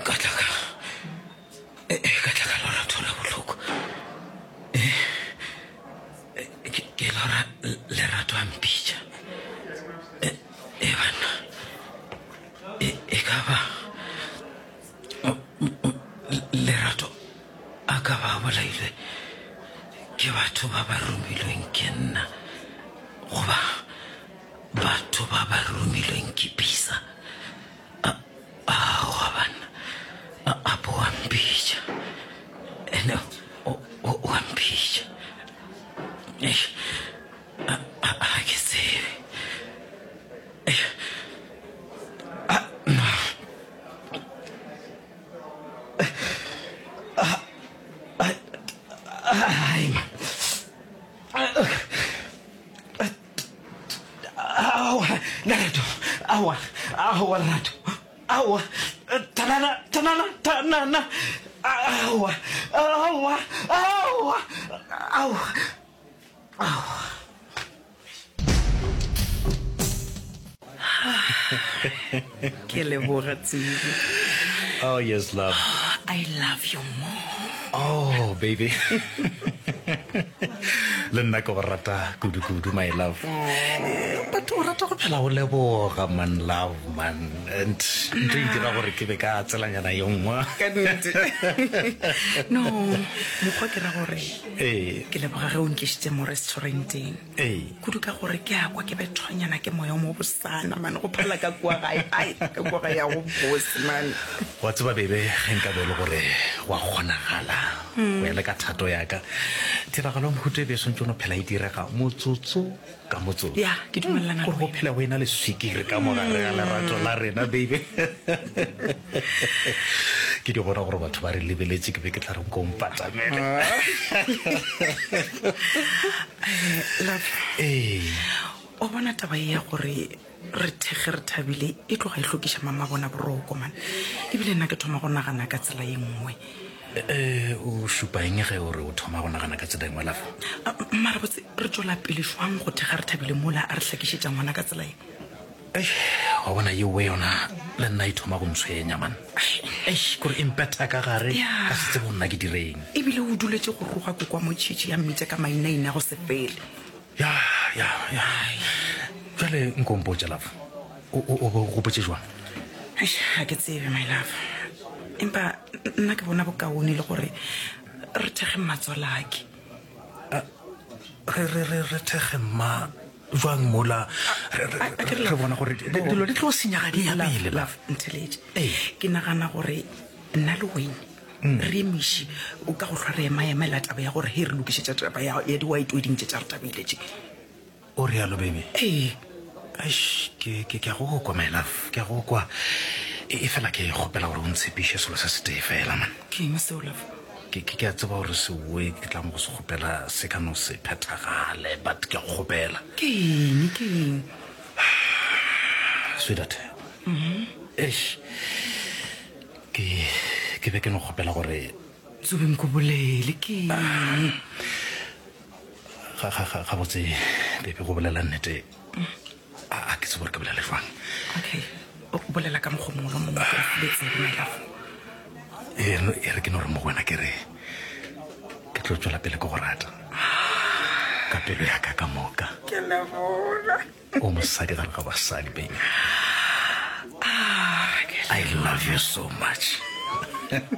Ka tla ka ka tla ka lora thola bohloko. Ke lora lerato a mpitša. E banna e ka ba Lerato a ka ba a bolailwe ke batho ba ba romilweng ke nna goba batho ba ba romilweng ke Bisa. Aowa banna, apo wa mpitša. Ene o a mpitša. Eish, a ke tsebe. Eish, Aowa, Lerato, aowa, aowa, Lerato, aowa, tanana, tanana, tanana, aowa, aowa, aowa, aowa, aowa. Ke leboga Tsubi. Oh yes, love. I love you more. Oh, baby. Le nna ke go rata kudu-kudu, my love. Eh, But o rata go phela o leboga, man, love, man. And ntho e dira gore ke be ka tselanyana ye nngwe. Ka nnete. No, mokgwa ke ra gore Ee. ke leboga ge o nkešitše mo restauranteng. Ee. Kudu ka gore ke a kwa ke bethwanyana ke moya o mo bosana man, go phala ka kua gae, ai, ka kua gae ya go bose man. Wa tseba bebe, ge nka be e le gore gwa kgonagala go ya le ka thato ya ka, tiragalo ya mohuta e be e swantše go no phela e direga motsotso ka motsotso. Ya, ke dumelelana le Gore go wena. phela go ena le swikiri ka mo gare ga lerato la rena, baby. Ke di bona gore batho ba re lebeletše, ke be ke tla re nko mpatamele. Love, Ee. o bona taba ye ya gore re thekge re thabile e tloga e hlokiša mama bona boroko man. Ebile nna ke thoma go nagana ka tsela ye nngwe. Eh, o šupa eng ge o re o thoma go nagana ka tsela e nngwe love? Mara botse re tšwela pele jwang go thekga re thabile mola a re hlakišetša ngwana ka tsela ye? Eish, wa bona yeo yona le nna e thoma go ntshwenya man. Eish, kore e mpetha ka gare Ya. ka se tsebe go nna ke direng. Ebile o duletše go roga koko wa motšhitšhi ya mmitša ka mainaina go se fele. Ya, ya, ya. Bjale nko mpotše love, o, o, o be o gopotše jwang? Eish, ga ke tsebe my love. Empa nna ke bona bokaone le gore re thekge mmatswalake. Re, re, re, re thekge mma jwang mola re, re, A- a ke re re bona gore di- dilo di tlo senyaga di ya pele love ntheletše ke nagana gore nna le wene Mm. re emiše o ka go hlwa re emaemela taba ya gore he re lokišetša taba ya ya di-white wedding tše tša re tabile tše O realo baby? Ee. Eish, ke, ke, ke a go kwa my love, ke a go kwa. E, e fela ke kgopela gore o ntshepiše selo se setee fela man. Ke eng seo love? Ke, ke, ke a tseba gore seoe ke tlang go se kgopela se ka no se phethagale, but ke a go kgopela. Ke eng, ke eng? Sweetheart, eish, ke, ke be ke no kgopela gore. Tsobe nko bolele, ke eng? Ga, ga, ga, gabotse, baby, go bolela nnete, a, a ke tsebe gore ke bolele jwang. Okay, o bolela ka mokgwa mongwe le mongwe, ke go file tsebe, my love. E, no, e re ke no re mo go wena ke re, ke tlo tšwela pele ke go rata. Ka pelo ya ka ka moka. Ke leboga. O mosadi gare ga basadi, baby. Ah, ke I love you so much.